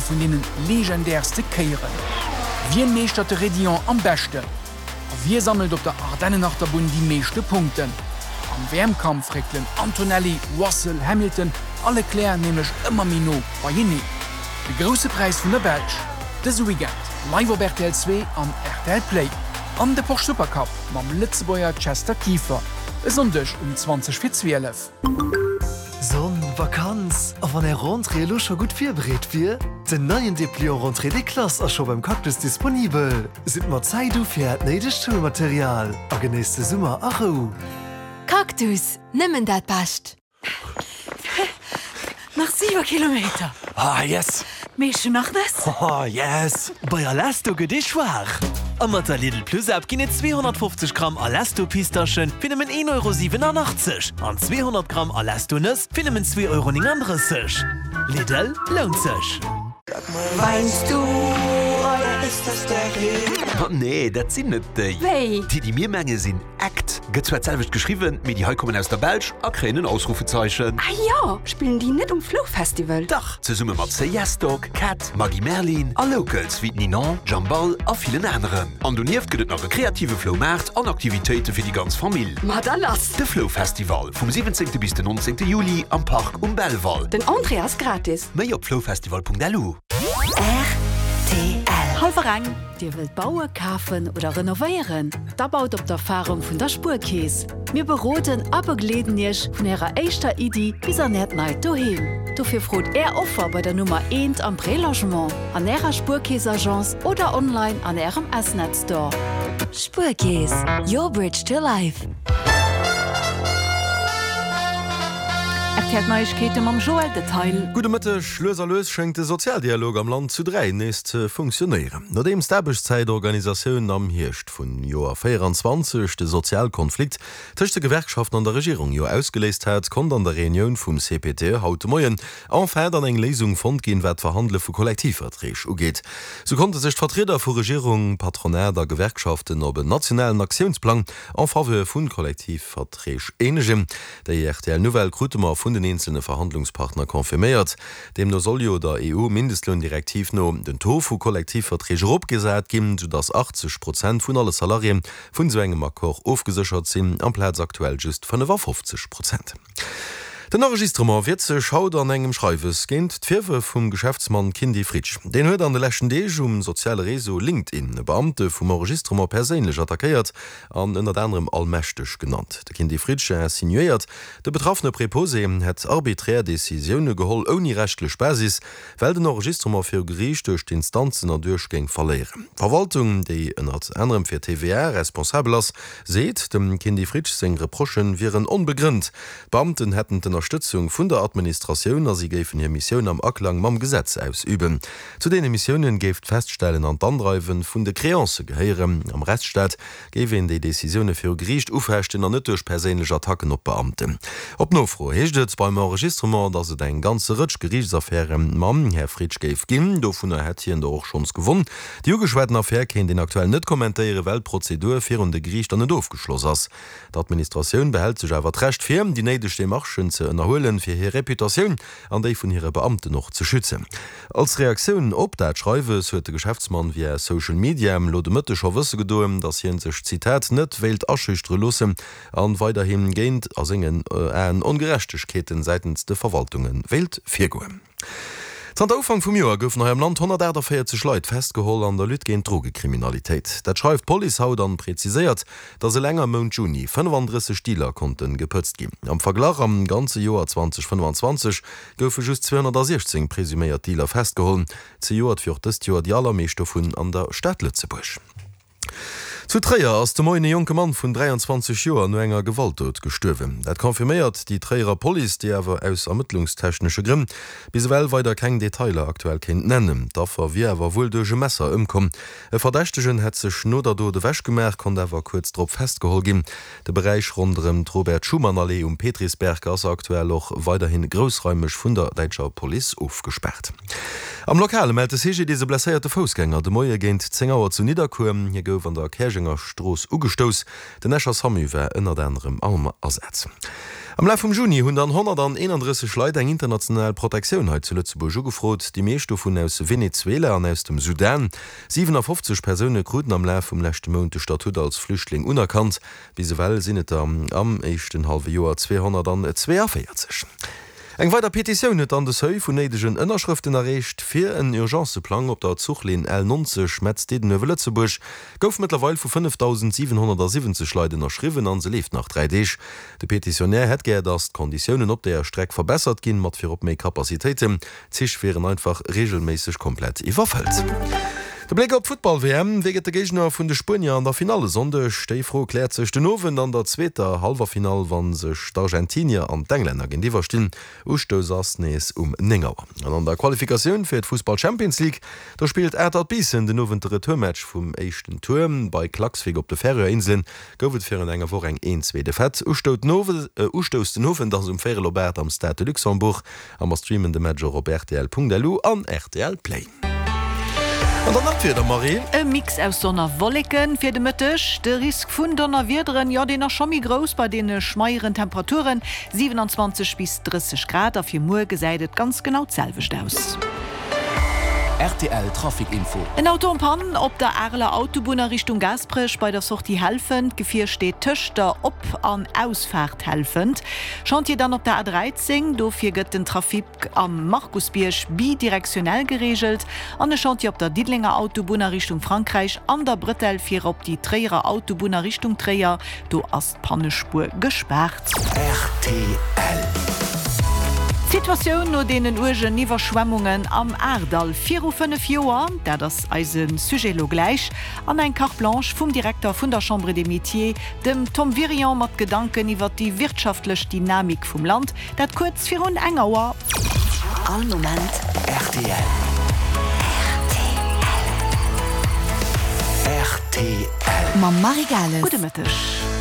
vun deene legendärste Kéieren. Wien meeschtert de Raidillon am beschten? A wie sammelt op der Ardennenachterbunn déi meeschte Punkten? Am WM-Kampf réckelen Antonelli, Russell, Hamilton a Leclerc nämlech ëmmer méi no beieneen. De Grousse Präis vun der Belsch dëse Weekend live op rtl 2 an rtl Play. An de Porsche Supercup mam Lëtzebuerger Chester Kieffer e Sonndeg um 20 fir 12. Sonn, Vakanz, a wann Är Rentrée elo scho gutt virbereet wier? Den neien Depliant Rentrée des Classes ass scho beim Cactus disponibel. Sidd mat Zäit u fir Äert néidegt Schoulmaterial a genéisst de Summer a Rou. Cactus, nëmmen dat Bescht! Nach 7 Kilometer. Ah yes! Mee ech hun nach Nëss. Oh yes! Bei Alesto gëtt ee schwaach! A mat der Lidl Plus App ginn et 250 Gramm Alesto Pistaschen fir nëmmen 1,87 Euro an 200 Gramm Alesto Nëss fir nëmmen 2,39 Euro. Lidl, lount sech! Ma nee, dat sinn net déi. Wéi? Déi, déi mir menge sinn Act. Gëtt zwar d'selwecht geschriwwen, mee déi hei kommen aus der Belsch a kréien en Ausrufezeichen. Ah jo, spillen déi net um Flow Festival? Dach, zesumme mat Say Yes Dog, Cat, Maggy Merlin a Locals wéi d'Ninon, Jambal a villen aneren. An donieft gëtt et nach e kreative Flou Maart an Aktivitéite fir déi ganz Famill. Ma da lass! De Flou Festival, vum 17. bis den 19. Juli am Park um Belval. Den Entrée ass gratis. Méi op floufestival.lu. Rtl. Hallwer eng. Dir wëllt baue, kafen oder renovéieren? Da baut op d'Erfarung vun der Spuerkeess. Mir beroden a begleeden Iech vun Ärer éischter Iddi bis an Äert neit Doheem. Dofir frot Är Offer bei der Nummer eent am Prélogement, an Ärer Spuerkeess-Agence oder online an Ärem S-Net Store. Spuerkeess, your bridge to life. Rtl Neiegkeete mam Joël Detail. Gudde Mëtteg. Lues a lues schéngt de Sozialdialog am Land zu 3 nees ze funktionéieren. Nodeems d'Aarbechtszäitorganisatioun am Hierscht vun Joer 24 de Sozialkonflikt tëscht de Gewerkschaften an der Regierung jo ausgeléist hat, konnt an der Reunioun vum CPTE haut de Moien enfin dann eng Léisung fonnt ginn, wat d'Verhandele vu Kollektivverträg ugeet. Sou konnte sech d'Vertrieder vu Regierung, Patronat a Gewerkschaften op en nationalen Aktiounsplang en faveur vu Kollektivverträg eenegen. Déi rtl Nouvelle krute mer vun den eenzelne Verhandlungspartner confirméiert. Deemno soll jo der EU-Mindestloundirektiv no den Taux vu Kollektivverträg eropgesat ginn, soudass 80 Prozent vun alle Salariéen vun esou engem Accord ofgeséchert sinn, amplaz aktuell just 55 Prozent. Den Enregistrement wiert sech haut an engem Schreiwes géint d'Virwërf vum Geschäftsmann Kindy Fritsch. Deen huet an de leschten Deeg um soziale Réseau LinkedIn e Beamte vum Enregistrement perséinlech attackéiert an ënnert anerem allmächteg genannt. De Kindy Fritsch insinuéiert, de betraffene Preposé hätt arbiträr Decisioune geholl ouni rechtlech Basis, well den Enregistrement viru Geriicht duerch d'Instanzen erduerch géing verléieren. D'Verwaltung, déi ënnert anerem fir d'TVA responsabel ass, seet, dem Kindy Fritsch seng Reprochë wieren onbegrënnt. D'Beamten hätten d'Ënnerstëtzung vun der Administratioun a si géifen hir Missioun am Aklang mam Gesetz ausüben. Zu deene Missiounen géif d'Feststellen an d'Andreiwe vun de Créancë gehéieren. Am Rechtsstaat géif een déi Decisioune viru Geriicht ufechten an net duerch perséinlech Attacken op Beamten. Op Nofro heescht et beim Enregistrement, datt et eng ganze Rëtsch Geriichtsaffäre mam Här Fritsch géif ginn. Dovunner hätt hien der och schonns gewonn. Déi ugeschwaten Affär kéint een aktuell net kommentéieren, well d'Prozedur virun de Geriichter net ofgeschloss ass. D'Administratioun behält sech awer d'Recht vir, déi néideg Demarchen ze ënnerhuelen, fir hir Reputatioun an déi vun hire Beamten och ze schützen. Als Reaktioun op dat Schreiwes huet de Geschäftsmann via Social Media elo de Mëtteg scho wësse gedoen, datt hien sech, Zitat, net wéilt aschüchtere loossen an weiderhi géint, a sengen Aen, Ongerechtegkeeten säitens de Verwaltunge wéilt virgoen. Zanter Ufank vum Joer goufen hei am Land 148 Leit festgeholl an der Lutte géint d'Drogekriminalitéit. Dat schreift d'Police haut an präziséiert, dass eleng am Mount Juni 35 Dealer konnte gepëtzt ginn. Am Verglach, am ganze Joer 2025 goufe just 216 presuméiert Dealer festgeholl. Zejoert wier och dëst Joer déi allermeescht dovun an der Stad Lëtzebuerg. Zu Tréier ass de Moien e jonke Mann vun 23 Joer no enger Gewaltdot gestuerwen. Dat confirméiert déi Tréierer Police, déi awer aus ermëttlungstechnesche Grënn bis ewell weider keng Detailer aktuell kéint nennen. D'Affer wier awer wuel duerch e Messer ëmkomm. E Verdächtegen hätt sech no der Dot ewech gemaach, konnt awer kuerz drop festgeholl ginn. De Beräich ronderëm d'Robert-Schuman-Allee um Petrisberg ass aktuell och weiderhi groussraimeg vun der däitscher Police ofgespaart. Am Lokale mellt de CGDIS e blesséierte Foussgänger de Moie géint 10 Auer zu Nidderkuer. Hie gouf an der Käerjenger Strooss ugestouss. Den Escher Samu war ënnert anerem am Asaz. Am Laf vum Juni hunn dann 131 Leit eng international Protektioun hei zu Lëtzebuerg ugefrot, déi meescht dovun aus Venezuela an aus dem Sudan. 57 Persoune kruten am Laf vum leschte Mount de Statut als Flüchtling unerkannt. Bis ewell sinn et der am éischten hallwe Joer 242. Eng weider Petitioun huet dann de Seuil vun néidegen Ënnerschrëften erreecht. Fir en Urgencëplang op der Zuchlinn L 90 Metz-Diddenuewe-Lëtzebuerg gouf mëttlerweil vu 5.770 Leit ënnerschriwwen an se leeft nach 3 Deeg. De Petitionär hätt gär, datt d'Konditiounen op deeër Streck verbessert ginn, mat virop méi Capacitéiten. D'Zich wieren einfach reegelméisseg komplett iwwerfëllt. De Bléck op d'Futtball-WM, Wie gëtt de Géigner vun de Spuenier an der Finall e Sonndeg? Déi Fro kläert sech den Owend an der zweeter Hallwerfinall, wa sech d'Argentinier an d'Englänner géintiwwer stinn. Ustouss ass nees um 9 Auer. An an der Qualifikatioun fir d'Fussball-Champions League, do spillt Atert Biissen den Owend de Retourmatch vum éischten Tour. Bei Klaksvik op de Färöer Inselen gouf et virun enger Woch eng 1-2 Defaite. Ustouss den Owend ass um véierel op 8 am Stade de Luxembourg. A mer streamen de Match och op rtl.lu an rtl Play. An dann nach d'Wieder, Marie. E Mix aus Sonn a Wolleken fir de Mëtteg. De Risk vun Donnerwiederen, jo deen ass scho méi grouss bei deene schmeieren Temperaturen, 27 bis 30 Grad. A fir muer gesäit et ganz genau d'selwecht aus. Rtl Trafic Info. En Auto en Panne op der Areler Autobunn a Richtung Gaasperech bei der Sortie Helfent. D'Gefier steet tëscht der Op an Ausfaart Helfent. Chantier dann op der A13, dofir gëtt den Trafic am Markusbierg bidirektionell gereegelt an e Chantier op der Diddelenger Autobunn a Richtung Frankräich an der Brëtell fir op déi Tréierer Autobunn a Richtung Tréier, do ass d'Pannespuer gespaart. Rtl. D'Situatioun no deenen uergen Iwwerschwemmungen am Ahrdall viru 5 Joer, dat ass eise Sujet elo gläich. An eng Carte blanche vum Direkter vun der Chambre des Métiers, dem Tom Wirion mat Gedanken iwwer déi wirtschaftlech Dynamik vum Land, dat kuerz virun eng Auer. All Moment rtl. Rtl. Mam Marie Gales. Gudde Mëtteg.